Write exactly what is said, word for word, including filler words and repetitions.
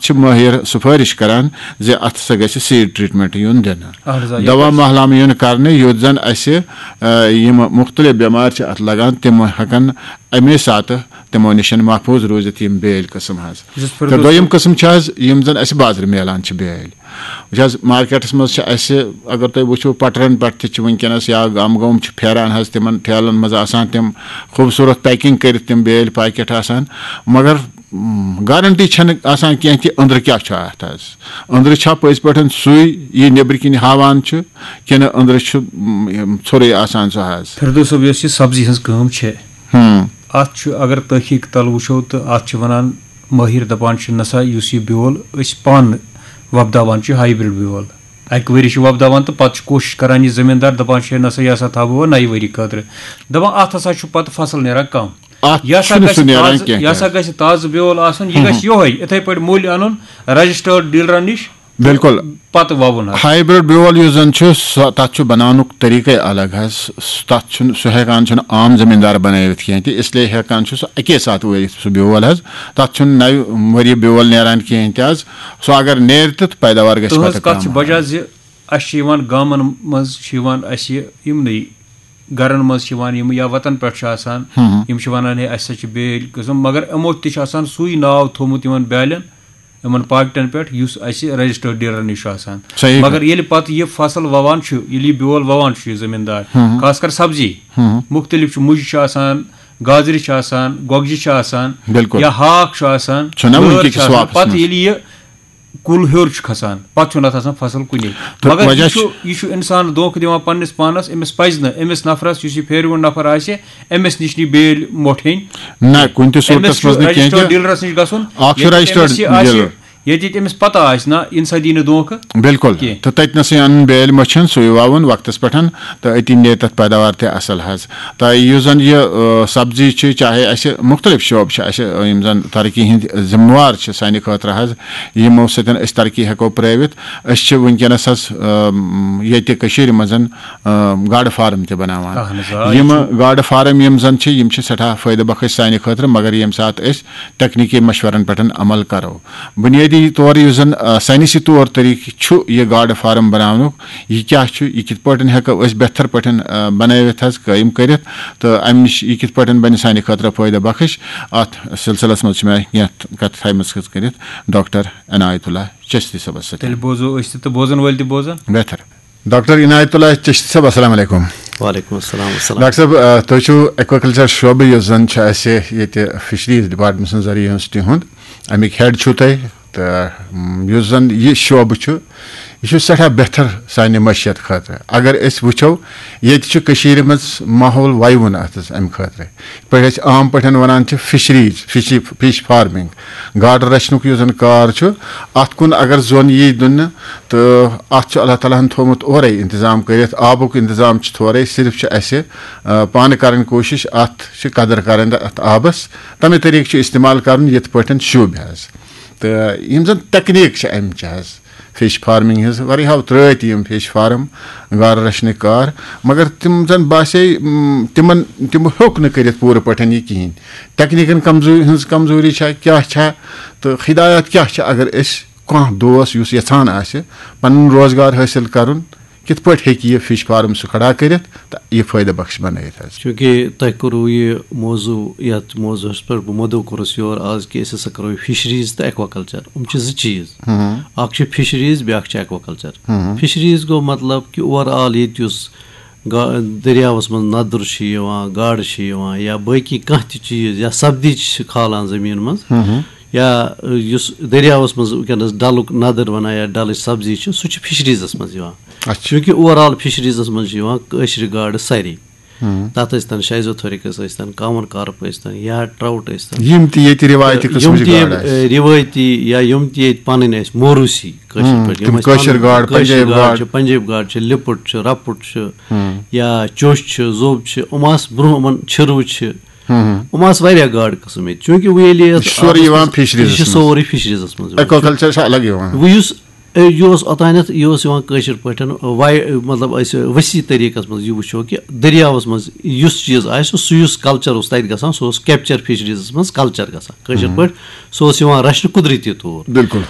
چھِ مٲہِر سفٲرِش کران زِ اَتھ ہسا گژھِ سیٖڈ ٹریٹمنٹ یُن دِنہٕ۔ اہن حظ، آ، یہِ دوا گژھِ۔ مہلامہٕ یُن کرنہٕ، یُتھ زن اَسہِ، آ، یِم مُختٔلِف بٮ۪مارِ چھِ اَتھ لگان، تِم ہٮ۪کن اَمے ساتہٕ تِمو نِش محفوٗظ روٗزِتھ یِم بیٲلۍ قٕسم حظ۔ یُس تہٕ فردوس دوٚیِم صٲب۔ قٕسم چھِ حظ یِم زن اَسہِ بازرٕ میلان چھِ بیٲلۍ۔ وٕچھ حظ، مارکیٹس منٛز چھِ اَسہِ، اگر تُہۍ وٕچھِو، پٹرن پٮ۪ٹھ تہِ چھِ وٕنکیٚنس یا گام گام چھِ پھیران حظ، تِمن ٹھیلن منٛز آسان تِم خوٗبصوٗرت پیکنگ کٔرِتھ تِم بیٲلۍ پاکیٹ آسان، مگر م، گارنٹی چھنہٕ آسان کینٛہہ کہِ أنٛدرٕ کیٛاہ چھُ اَتھ حظ۔ أنٛدرٕ چھا پٔزۍ پٲٹھۍ سُے یہِ نیٚبرٕ کِنۍ ہاوان چھُ، کِنہٕ أنٛدرٕ چھُ م، یِم ژھوٚرُے آسان سُہ حظ۔ فردوس صٲب، یۄس یہِ سبزی ہٕنٛز کٲم چھِ، ہم۔ اَتھ چھُ، اگر تحقیق تل وٕچھو تہٕ اَتھ چھِ وَنان مٲہِر، دَپان چھِ، نسا یُس یہِ بیول أسۍ پانہٕ وۄپداوان چھِ، ہایبرڈ بیول، اَکہِ ؤری چھِ وۄپداوان تہٕ پَتہٕ چھِ کوٗشِش کران یہِ زٔمیٖندار، دَپان چھِ، نسا یہِ ہسا تھاوو نَیہِ ؤری خٲطرٕ۔ دَپان اَتھ ہسا چھُ پَتہٕ فصل نیران کَم۔ اَتھ یہِ ہسا چھُنہٕ گژھِ سُہ نیران تازٕ، کینٛہہ یہِ ہسا تہِ۔ گژھِ تازٕ بیول آسُن، یہِ گژھِ یِہوٚے یِتھَے پٲٹھۍ مٔلۍ اَنُن رجسٹٲرڈ ڈیلرَن نِش۔ بِلکُل۔ پَتہٕ وَوُن حظ۔ ہایبرڈ بیول یُس زَن چھُ، سُہ، تَتھ چھُ بَناونُک طریٖقَے الگ حظ۔ سُہ، تَتھ چھُنہٕ، سُہ ہٮ۪کان چھُنہٕ عام زٔمیٖندار بَنٲوِتھ کینٛہہ تہِ، اِسلیے ہٮ۪کان چھُ سُہ اَکے ساتہٕ وٲیِتھ سُہ بیول حظ۔ تَتھ چھُنہٕ نَوِ ؤریہِ بیول نیران کِہیٖنۍ تہِ حظ۔ سُہ اگر نیرِ تہِ، تہٕ پیداوار گژھِ تُہٕنٛز پَتہٕ کَتھ چھِ کَم بجا حظ۔ زِ اَسہِ چھِ یِوان گامَن منٛز چھِ یِوان اَسہِ یِمنٕے گَرَن منٛز چھِ یِوان یِم یا وَتَن پٮ۪ٹھ چھِ آسان، یِم چھِ وَنان، ہے، اَسہِ ہسا چھِ بیٲلۍ قٕسٕم، مگر یِمو تہِ چھِ آسان سُے ناو تھوٚومُت یِمَن بیٛالٮ۪ن، یِمَن پاکٹَن پٮ۪ٹھ، یُس اَسہِ رجسٹٲرڈ ڈیلرَن نِش چھُ آسان۔ صحیح کَتھ۔ مگر ییٚلہِ پَتہٕ یہِ فصل وَوان چھُ، ییٚلہِ یہِ بیول وَوان چھُ یہِ زٔمیٖندار، خاص کر سبزی، مُختٔلِف چھُ، مُجہِ چھِ آسان، گازرِ چھِ آسان، گۄگجہِ چھِ آسان، بِلکُل۔ یا ہاکھ چھُ آسان، چھُنہ وٕنہِ لٲر کِکِس چھِ آسان۔ واپَس پَتہٕ منٛز۔ ییٚلہِ یہِ کُل ہیوٚر چھُ کھسان، پَتہٕ چھُنہٕ اَتھ آسان فصل کُنے۔ تہٕ مگر وجہ یہِ چھُ، چھُ یہِ چھُ اِنسان دھوکہٕ دِوان پنٛنِس پانَس۔ أمِس پَزِ نہٕ، أمِس نفرَس، یُس یہِ پھیرِوُن نفر آسہِ، أمِس نِش نہٕ یہِ بیٲلۍ مۄٹھ ہیٚنۍ۔ نہ، کُنہِ تہِ أمِس صوٗرتَس چھُ منٛز نہٕ کینٛہہ رجسٹٲرڈ تہِ۔ ڈیلرَس نِش گژھُن۔ اَکھ چھُ ییٚتہِ رجسٹٲرڈ أمِس یہِ آسہِ، ڈیلر۔ ییٚتہِ ییٚتہِ أمِس پَتہ آسہِ، نہ، یہِ نہ سا دی نہٕ دھوکہٕ۔ بِلکُل۔ کینٛہہ۔ تہٕ تَتہِ نَسٕے اَنُن بیٲلۍ مۄچھَن، سُے وَوُن وقتَس پٮ۪ٹھ، تہٕ أتی نیرِ تَتھ پیداوار تہِ اَصٕل حظ۔ تہٕ یُس زَن یہِ، آ، سبزی چھِ، چاہے اَسہِ مُختٔلِف شعبہٕ چھِ اَسہِ، آ، یِم زَن ترقی ہٕنٛدۍ ذِمہٕ وار چھِ سانہِ خٲطرٕ حظ، یِمو سۭتۍ أسۍ ترقی ہٮ۪کو پرٛٲوِتھ۔ أسۍ چھِ وٕنکیٚنَس حظ، آ، ییٚتہِ کٔشیٖرِ منٛز، آ، گاڈٕ فارم تہِ بَناوان۔ اَہَن حظ، آ، یہِ یِم چھُ گاڈٕ فارم یِم زَن چھِ، یِم چھِ سٮ۪ٹھاہ فٲیدٕ بخش سانہِ خٲطرٕ، مگر ییٚمہِ ساتہٕ أسۍ تکنیٖکی مشورَن پٮ۪ٹھ عمل کَرو۔ بُنیٲدی طور یُس زَن، آ، ساینسی طور طریٖقہٕ چھُ یہِ گاڈٕ فارم بَناونُک، یہِ کیٛاہ چھُ، یہِ کِتھ پٲٹھۍ ہٮ۪کو أسۍ بہتر پٲٹھۍ، آ، بَنٲوِتھ حظ، قٲیِم کٔرِتھ، تہٕ اَمہِ نِش یہِ کِتھ پٲٹھۍ بَنہِ سانہِ خٲطرٕ فٲیدٕ بخش، اَتھ سلسلس منٛز چھِ مےٚ کینٛہہ کَتھٕ تھایمَژٕ کٔرِتھ ڈاکٹر عنایت اللہ چشتی صٲبَس سۭتۍ۔ تیٚلہِ بوزو أسۍ تہِ تہٕ بوزَن وٲلۍ تہِ بوزَن۔ بہتر۔ ڈاکٹر عنایت اللہ چشتی صٲب، السلام علیکم۔ وعلیکم السلام، السلام۔ ڈاکٹر صٲب، آ، تُہۍ چھِو ایکواکلچر شعبہٕ، یُس زَن چھُ اَسہِ ییٚتہِ فشریز ڈپارٹمنٹ سٕنٛز ذٔریعہٕ یونیورسٹی ہُنٛد، اَمِکۍ ہیڈ چھِو تُہۍ، تہٕ، م، یُس زَن یہِ شعبہٕ چھُ، یہِ چھُ سٮ۪ٹھاہ بہتر سانہِ معیشت خٲطرٕ۔ اگر أسۍ وٕچھو، ییٚتہِ چھُ کٔشیٖرِ منٛز ماحول وَیوُن اَتھ حظ اَمہِ خٲطرٕ۔ یِتھ پٲٹھۍ أسۍ عام پٲٹھۍ وَنان چھِ فشریز، فشری، فش فارمنگ، گاڈٕ رَچھنُک یُس زَن کار چھُ، اَتھ کُن اگر زوٚن یی دِنہٕ، تہٕ اَتھ چھُ اللہ تعالیٰ ہَن تھوٚومُت اورَے اِنتظام کٔرِتھ، آبُک اِنتظام چھُ تھورَے، صرف چھُ اَسہِ، آ، پانہٕ کَرٕنۍ کوٗشِش، اَتھ چھِ قدٕر کَرٕنۍ تہٕ اَتھ آبَس تَمے طریٖقہٕ چھُ استعمال کَرُن، یِتھ پٲٹھۍ شوٗبہِ حظ۔ تہٕ یِم زَن تکنیٖک چھِ اَمہِ چہِ حظ، فِش فارمِنٛگ ہِنٛز، واریاہو ترٛٲے تہِ یِم فِش فارم، گاڈٕ رَچھنٕکۍ کار، مگر تِم زَن باسے، م، تِمَن، تِمو ہیوٚک نہٕ کٔرِتھ پوٗرٕ پٲٹھۍ یہِ کِہیٖنۍ۔ تکنیٖکَن کمزوٗری ہٕنٛز کمزوٗری چھا، کیٛاہ چھا، تہٕ ہدایت کیٛاہ چھِ، اگر أسۍ کانٛہہ دوس یُس یَژھان آسہِ پَنُن روزگار حٲصِل کَرُن، کِتھ پٲٹھۍ ہیٚکہِ یہِ فِش فارم سُہ کھڑا کٔرِتھ تہٕ یہِ فٲیدٕ بخش بنٲیِتھ حظ؟ چوٗنٛکہِ تۄہہِ کوٚروٕ یہِ موضوع، یَتھ موضوعس پٮ۪ٹھ بہٕ مدعو کوٚرُس یور آز، کہِ أسۍ ہسا کرو یہِ فِشریٖز تہٕ ایکواکلچر۔ یِم چھِ زٕ چیٖز۔ اکھ چھِ فِشریٖز، بیٛاکھ چھِ ایکواکلچر۔ فِشریٖز گوٚو مطلب کہِ اوور آل ییٚتہِ یُس گا-، دٔریاوَس منٛز نَدُر چھُ یِوان، گاڈٕ چھِ یِوان، یا باقٕے کانٛہہ تہِ چیٖز، یا سبزی چھِ کھالان زٔمیٖن منٛز، یا، یُس دٔریاوَس منٛز وٕنکیٚنَس ڈَلُک نَدٕر وَنان یا ڈَلٕچ سبزی چھِ، سُہ چھُ فِشریٖزَس منٛز یِوان۔ اچھا۔ چوٗنٛکہِ اوور آل فِشریٖزَس منٛز چھِ یِوان کٲشرِ گاڈٕ سارے۔ تَتھ ٲسۍ تَن شیزوتھورِکس ٲسۍ تَن، کامَن کارپ ٲسۍ تَن، یا ٹراوُٹ ٲسۍ تَن۔ یِم تہِ ییٚتہِ رِوایتی یِم قٕسمٕچ تہِ یِم، گاڈٕ آسہِ۔ اے، رِوٲیتی یا یِم تہِ ییٚتہِ پَنٕنۍ ٲسۍ موروٗسی کٲشِر پٲٹھۍ، یِم تِم ٲسۍ کٲشِر پَنٕنۍ گاڈٕ، کٲشِر پنجٲبۍ گاڈٕ گاڈٕ۔ چھِ، پنجٲبۍ گاڈٕ چھِ، لِپُٹ چھِ، رَپُٹ چھِ، یا چوٚچھ چھِ، زوٚب چھِ، یِم آسہٕ برٛونٛہہ یِمَن چھِرو چھِ، یِم آسہٕ واریاہ گاڈٕ قٕسٕم ییٚتہِ۔ چوٗنٛکہِ وۄنۍ ییٚلہِ یَتھ یہِ چھُ سورُے آبَس یِوان منٛز، فِشریٖزَس یہِ چھِ سورُے فِشریٖزَس منٛز یِوان۔ ایکواکلچر چھُ الگ یِوان۔ وۄنۍ یُس، اے، یہِ اوس اوٚتانٮ۪تھ، یہِ اوس یِوان کٲشِر پٲٹھۍ، واے-، مطلب، أسۍ ؤسیع طریٖقَس منٛز یہِ وٕچھو کہِ دٔریاوَس منٛز یُس چیٖز آسہِ، سُہ یُس کلچر اوس تَتہِ گژھان، سُہ اوس کیپچر فِشریٖزَس منٛز کلچر گژھان۔ کٲشِر پٲٹھۍ، سُہ اوس یِوان رَچھنہٕ قُدرٔتی طور۔ بِلکُل۔